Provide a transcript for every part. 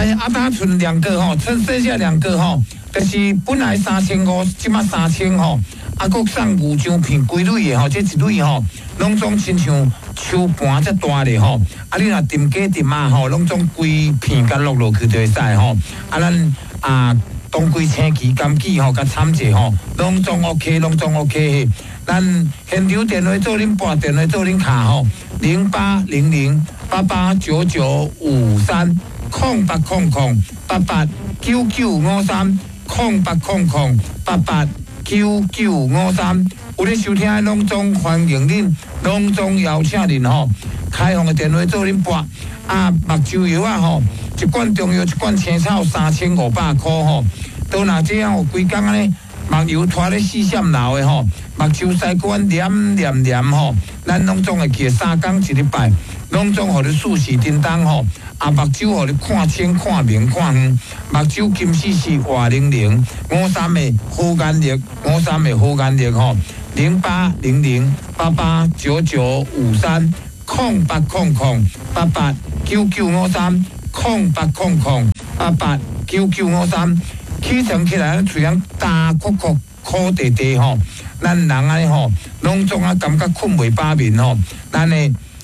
來，啊，當賰兩個吼，剩剩下兩個吼，就是本來3500，這馬三千吼，啊，閣送牛樟片規蕊的吼，這一蕊吼，攏總親像手盤遮大咧吼，啊，你若浸雞浸仔吼，攏總規片共落落去就會使吼，啊，咱啊，當歸青旗柑杞吼，佮摻者吼，攏總 OK，攏總 OK 嘿。咱現場電話做恁撥，電話做恁敲吼，0800889953，0800889953，0800889953。有咧收聽的攏總歡迎恁，攏總邀請恁吼。開放的電話做恁撥，啊，目睭藥仔吼，一罐中藥一罐青草3500箍吼。都若這樣有規工按呢，目油拖咧四閃流的吼，目睭屎骨黏黏黏吼，咱攏總會記三工一禮拜，攏總予你順時叮當吼，啊，目睭予你看清看明看遠，目睭金絲絲活靈靈，五三的好眼力，五三的好眼力吼，0800889953，0800889953，0800889953。起床起來，喙癢焦苦苦苦地地吼，咱人按呢吼，攏總啊感覺睏袂飽眠吼。咱的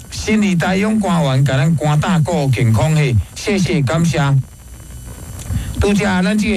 心理大勇官員共咱肝膽顧健康嘿，謝謝感謝。拄才咱這個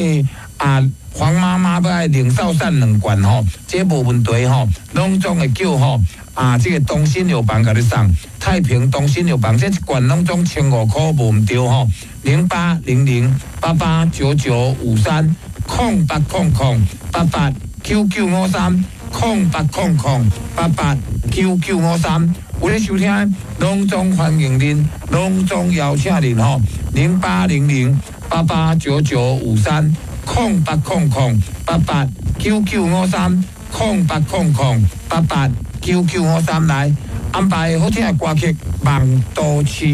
啊黃媽媽欲愛靈壽散兩罐吼，這無問題吼，攏總會叫吼啊這個東新藥房共你送，太平東新藥房這一罐攏總1500箍無毋對吼。0800889953，0800889953，0800889953。有咧收聽，攏總歡迎恁，攏總邀請恁吼。0800889953，0800889953，0800889953來安排好聽的歌曲《夢都市》。